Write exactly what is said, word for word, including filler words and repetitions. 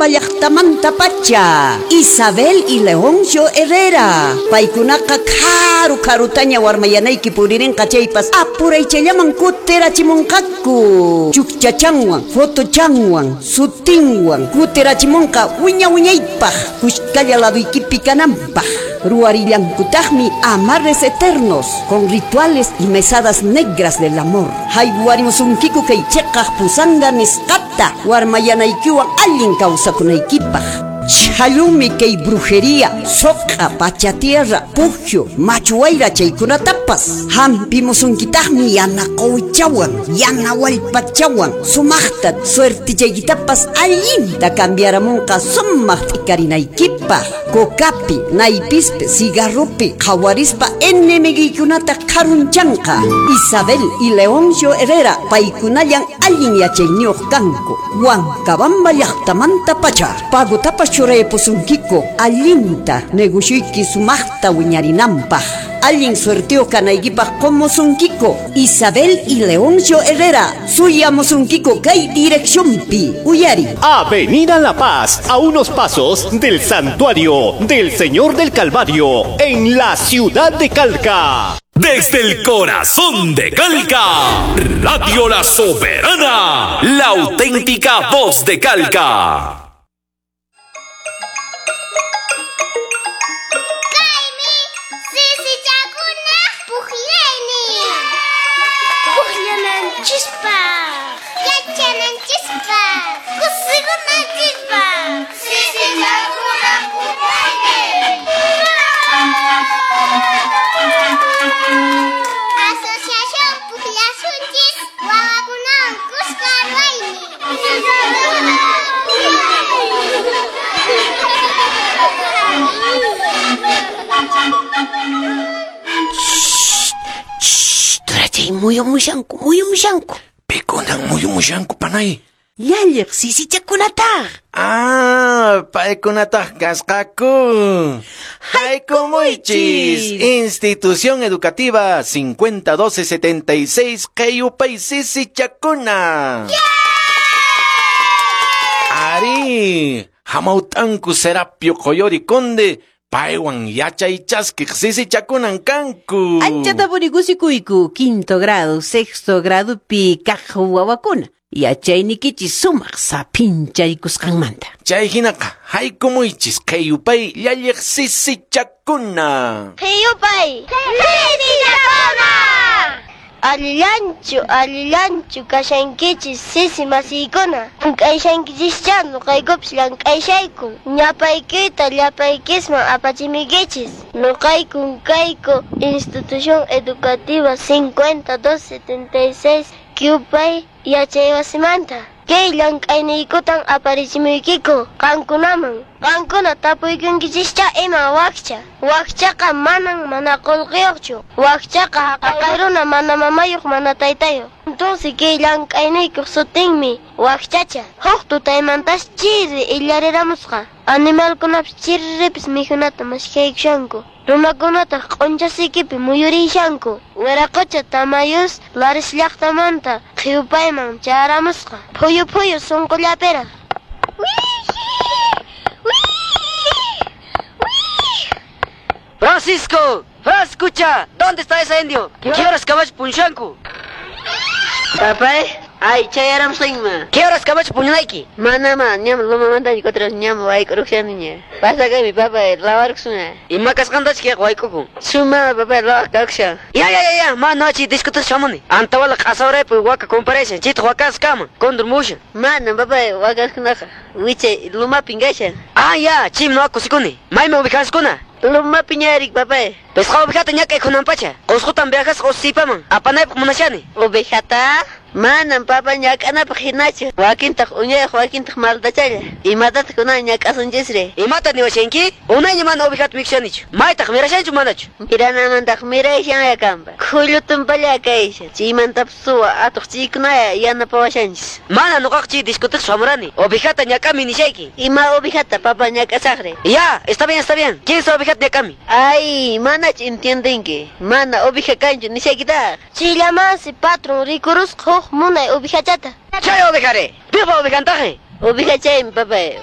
Huancabamba llaqtamantapacha. Isabel y Leoncio Herrera. Paykunaqa karu karutaña warmayanayki puririnqa chaypas apuraychallaman kutirachimunqaku. Chukchachanwan, fotochanwan, sutinwan kutirachimunqa wiña wiñaypaq kushkalla laduykipi kananpaq. Ruwarillankutaqmi amarres eternos con rituales y mesadas negras del amor. Haywarimusunkiku kay chiqaq pusanga nisqata warmayanaykiwan allin kawsakunaykipaq. Chhallumi kay brujería, soqa, pachatierra, pujio, machuayra chaykunatapas. Hampimusunkitaqmi yana quwichawan, yana wallpachawan, sumaqta suertichaykitapas allinta cambiaramunqa sumaq t'ikarinaykipaq. Cocapi, naypispi, cigarropi, qhawarispa enemiguykunata qharunchanqa. Isabel y Leoncio Herrera paykunallan allin yachayniyuq kanku. Huancabamba llaqtamantapacha. Pagotapas churaypusunkiku allinta negocioyki sumaqta wiñarinanpaq. Allin suerteo kanaykipaq qumusunkiku. Isabel y Leoncio Herrera suyamusunkiku kay direccionpi. Uyari. Avenida La Paz, a unos pasos del Santuario del Señor del Calvario, en la ciudad de Calca. Desde el corazón de Calca, Radio La Soberana, la auténtica voz de Calca. Asociación Pujllasunchis Wawakunawan Kuska Ruwaymi. Turachay muyumushanku, muyumushanku. Pikunan muyumushanku, panay. Llalliq sisichakunataq. Ah, paykunataq kasqaku. Haykumuychis. Institución Educativa cincuenta doce setenta y seis Qeyupay sisichakuna. Ari, hamawt'anku Serapio Qoyori Conde, paywan yachay chaskiq sisichakunan kanku. Anchatapuni kusikuyku, quinto grado, sexto grado pi kaq wawakuna. Yachaynikichis sumaq saphinchaykusqanmanta. Chay hinaqa haykumuychis Qeyupay llalliq sisichakuna. Qeyupay sisichakuna. Allillanchu, allillanchu kashankichis sisi masiykuna. Llank'ayshankichischa nuqaykupis llank'ayshayku. Ñapaykita llapaykisman apachimiykichis. Nuqaykun kayku Institución Educativa cincuenta dos setenta y seis Qeyupay yachaywasimanta. Kay llank'ayniykutan aparichimuykiku qankunaman. Qankuna tapuykunkichischa ima wakcha. Wakchaqa manan mana qullqiyuqchu. Wakchaqa haqay runa mana mamayuq mana taytayuq. Entonces kay llank'ayniykuq sutinmi wakchacha. Huk tutaymantas chiri illariramusqa. Animalkunapis chirripis mikhunata mashkhaykushanku. Runakunataq q'unchasikipi muyurishanku. Wiraqocha Tamayus Laris llaqtamanta Qeyupayman chayaramusqa. Phuyu phuyu sunqullapiraq. Francisco, Frascucha, ¿dónde está ese indio? ¿Qué horas caballo punshanku? Papay, ay, chayaramusqanma. ¿Qué horas caballo puñunayki? Manama, ñam lumamanta otras ñam wayk'uruqshaniña. Pasakaymi papay, lawarkusuna. Ima kasqantachu kayqa wayk'ukun? Suma papay lawaq kakushan. Ya, ya, ya, ya, ma nochi discutas shamuni. Antawala q'asawraypi waka comparashan, chaytaq wakas kama, kondur mushan. Manam papay wakaskunaqa, wichay lumapin kashan. Ah, ya, chim noqa kusikuni. Maymi ubicaskuna? Lumapi ñarik papay. Pisqa ovejata ñak'ay kunanpacha. Qusqutan viajasqa usipaman. Apanaypaq munashani. Ovejata? Manam papa ñak'anapaq hinachu. Wakintaq uñayuq, wakintaq maldachalla. Imatataq kunan ñak'asunchisri? Imata niwashanki? Unayña mana ovejata mikhushanichu. Maytaq mirashanchu manachu? Miranamantaq mirayshanlla kanpa. Khullutumpalla kayshan. Chaymantapas suwa atuq chaykunaya yanapawashanchis. Mana nuqaqa chay discutiq shamurani. Ovejata ñak'ami nishayki. Ima ovejata papa ñak'asaqri? Ya, está bien, está bien. ¿Quién ovejata ñak'ami? Ay, manachu entiendenki. Mana oveja kanchu nishaykitaq. Chillamansi patron rikurusqa huk munay ovejachata. Chay ovejare. Piqpa ovejantaje? Oveja chaymi papay.